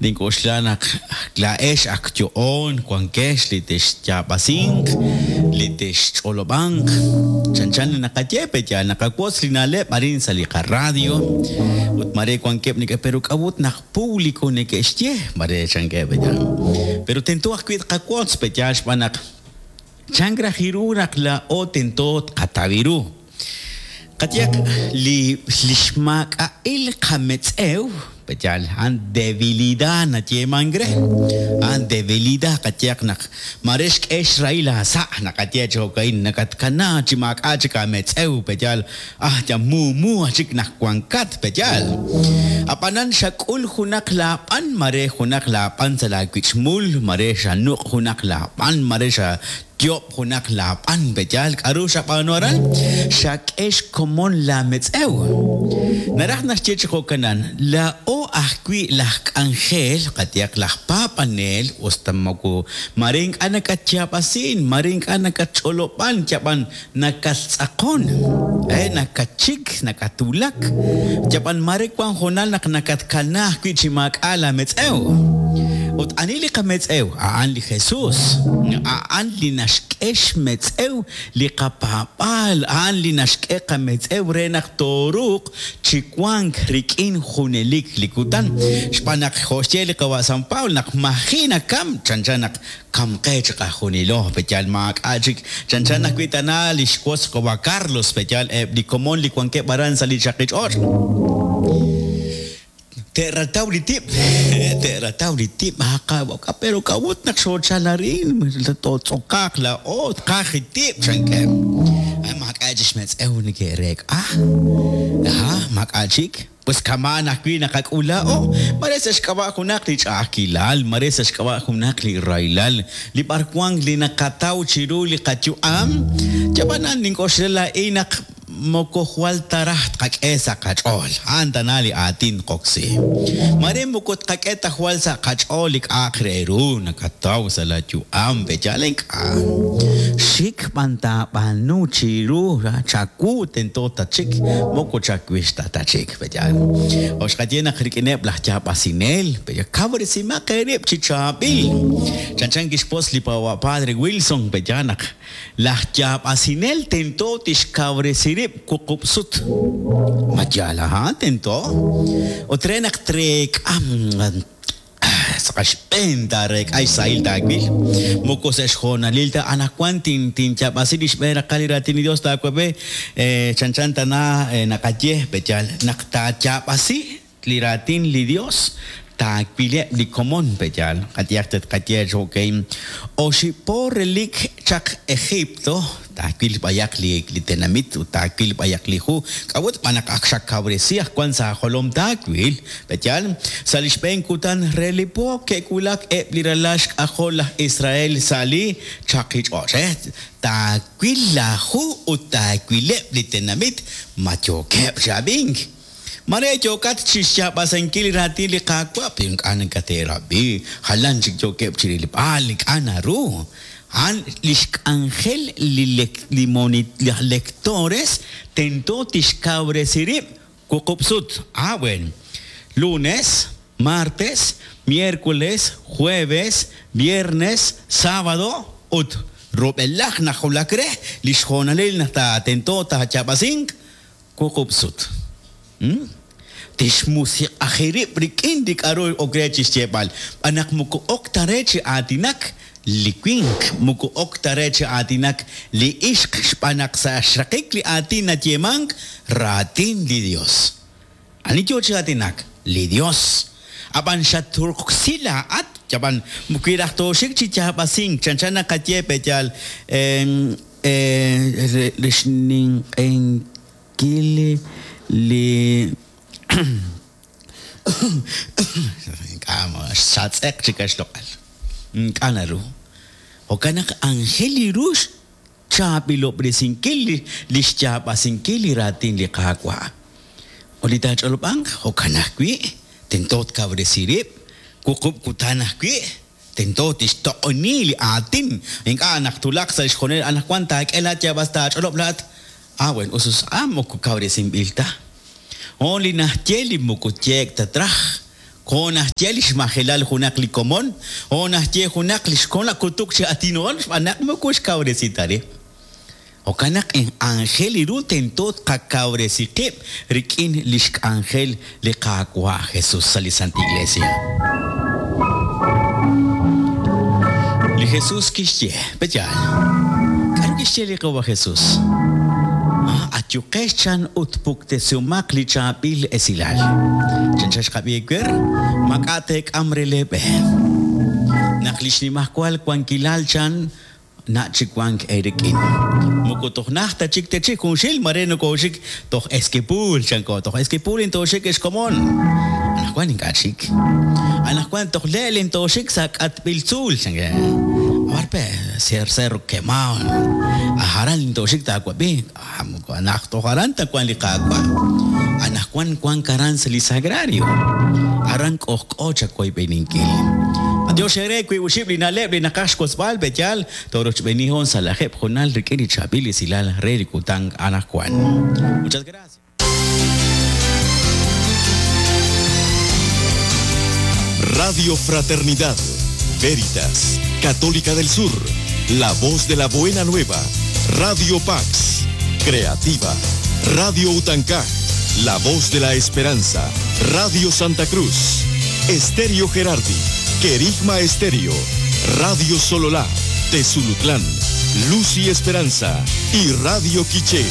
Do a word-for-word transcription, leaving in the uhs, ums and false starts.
Nink'oxla naq laa'ex ak yo'oon wankex li texyaab'asinq, li texch'olob'anq. Chanchan naqaye pe yaal naqawotz li na'leb' arin sa' li qaradio. Ut mare wankeb' neke pero k'a'ut naq público neke'xye mare chankeb' pe yaal. Pero tento ajwi' tqawotz pe yaal xb'aan naq chank raj ru naq laa'o tento tqataw ru. Qayehaq li li xmaak'a'il qametz'ew pe yaal a'an debilidad nayeemank re. A'an debilidad qayehaq naq mare xk'e xrahil aasa' naqaye chi jo'ka'in nakatkana chi maak'a' chik aametz'ew pe yaal ah ya muumu chik naq wankat pe yaal. Ab'anan xak'ul junaq laab'an mare junaq laab'an sa' laawich'mul mare xanuq' junaq laab'an mare xa yob' junaq laab'an pe yaal k'aru xab'aanu aran xak'e xkomon laametz'ew. Naraj naxye chi jo'kanan laa'o ajwi' laj k'anjel qayehaq laj paab'anel usta moko mare ink'a' nakatyaab'asin mare ink'a' nakatch'olob'an yab'an nakattz'aqon eh nakatchik nakatwulak yab'an mare wan hoonal naq nakatkana ajwi' chi maak'a' laametz'ew. Ut ani li qametz'ew a'an li Jesús a'an li naxk'e xmetz'ew li qapaab'aal a'an li naxk'e qametz'ew re naq tooruuq chi wank rik'in junelik li kutan. Xb'aan naq jo' xye li qawa' San Pablo naq maji' nakam chanchan naq kamqe chi qajunilo pe yaal maak'a' chik chanchan ajwi' tana li xwotz qawa' Carlos pe yaal eb' li komon li wankeb' aran sa' li chaqich'och'. Te'rataw li tib', te'rataw li tib', aqaw, pero k'a'ut naq xoochal arin, tootz'okaaq laa'o, tqaj li tib' chankeb'. Ay maak'a' chik xmetz'ew neke'reek'a. Aha, maak'a' chik. Pues kama'an ajwi' naqak'ul laa'o. Mare sa' xk'ab'a' junaq li ch'a'ajkilal, mare sa' xk'ab'a' junaq li rahilal, li b'arwan li naqataw chiru li qayu'am. Yab'anan nink'oxla laa'in naq moko jwal taraj tqak'e sa' qach'ool. A'an tana li aatin qoksi. Mare moko tqak'e ta jwal sa' qach'ool li k'a'aq re ru nakataw sa' la yu'am pe yaal ink'a'. Xik b'an taab'aanu chiru chawu tento tachik moko chawix ta tachik pe yaal. Jo' xqaye naq rik'ineb' laj yaab'asinel pe yaal kawresimaq eerib' chi chaab'il. Chanchan kixpos li Padre Wilson pe yaal naq laj yaab'asinel tento tixkawresi rib' wuqub' sut. Ma yaal aha tento. Ut re naq treek'am sa' qaxb'een taareek'a xsahil taawil. Moko sa' xjoonalil ta anaqwan tin tinyaab'asi li xb'een raqal li raatin li Dios taawab'e chanchan tana naqaye pe yaal naq taayaab'asi li raatin li Dios taawileb' li komon pe yaal. Qayehaq tetqaye okey oxib' po relik chaq Egipto taawil b'ayaq li li tenamit ut taawil b'ayaq li hu k'a'ut b'an naq ak xakawresi ajwan sa' jolom taawil pe yaal sa' li xb'een kutan re li po ke'wulak eb' li ralal xk'ajol laj Israel sa' li chaqich'och' eh taawil laahu ut taawileb' li tenamit ma yookeb' chi ab'ink. Mare yookat chi xyaab'asenkil li raatin li Qaawa' pero ink'a' nakate'rab'i jalan chik yookeb' chi rilb'al ink'a' naru. A'an li xk'anjel li li lectores tento tixkawresi rib' wuqub' sut. Ah, bueno. Lunes, martes, miércoles, jueves, viernes, sábado ut rub'elaj najulak re li xjoonalil naq tento taayaab'asink wuqub' sut. Hmm? Tixmusiq'aji rib' rik'in li k'aru ok re chi xyeeb'al. B'an naq moko ok ta re chi aatinak li winq, moko ok ta re chi aatinak li ixq xb'aan naq sa' xraqik li aatin nayeemank raatin li Dios. Ani yo chi aatinak? Li Dios. Ab'an xaturqsi laa'at, yab'an wi raj tooxik chi yaab'asink chanchan naqaye pe yaal li xninq'enkil li ink'a' xatz'eq chik xloq'al. Ink'a' naru. Jo'kan naq anjel li ru xchaab'ilob'resinkil li xyaab'asinkil li raatin li Qaawa'. Ut li taach'olob'anq jo'kan ajwi' tento tkawresi rib' wuqub' kutan ajwi' tento tixtoq'oni li aatin. Ink'a' naq tulaq sa' xjoonal anaqwan taak'e laat yaab'as taach'olob' laat. Ah, bueno, usus ah moko kawresinb'il ta. O li naxye li moko yeek ta traj. Jo' naxye li xmajelal junaq li komon, jo' naxye junaq li xkon kutuk chi atinool xb'aan naq moko xkawresi ta rib'. Jo'kan naq aajel ru tento tqakawresi qib' rik'in li xk'anjel li Qaawa' Jesus sa' li Santa Iglesia. Li Jesus kixye, peyaal. K'aru kixye li Qaawa' Jesus? Ah, ayuqex chan ut puktesiumaq li chaab'il esilal. Chan xqab'i ewer, mak'a teek'am re leeb'e. Naq li xnimajwal wankilal chan na chikwank erik'in. Moko toj najta chik techik junxil mare nokooxik toj Esquipuul chanko toj Esquipuul intooxik exkomon. Anaqwan ink'a' chik. Anaqwan toj leel intooxik sa' k'atb'il tzuul chanke. Abarpe ser cerro quemao. Ajaran intooxik taawab'i. Ah, moko anaq toj aran tawank li Qaawa'. Anaqwan wank aran sa' li sagrario. Aran k'ojk'o chawoyb'eninkil. Dios ere wi uxib' li na'leb' li naqaj xwotzb'al b'eyal torochb'enihon sa' lajeb' junal rik'in li chaab'il esilal re li kutan anaqwan. Muchas gracias. Radio Fraternidad, Veritas, Católica del Sur, La Voz de la Buena Nueva, Radio Pax, Creativa, Radio Utancaj, La Voz de la Esperanza, Radio Santa Cruz, Estéreo Gerardi, Querigma Estéreo, Radio Sololá, Tezulutlán, Luz y Esperanza y Radio Quiché.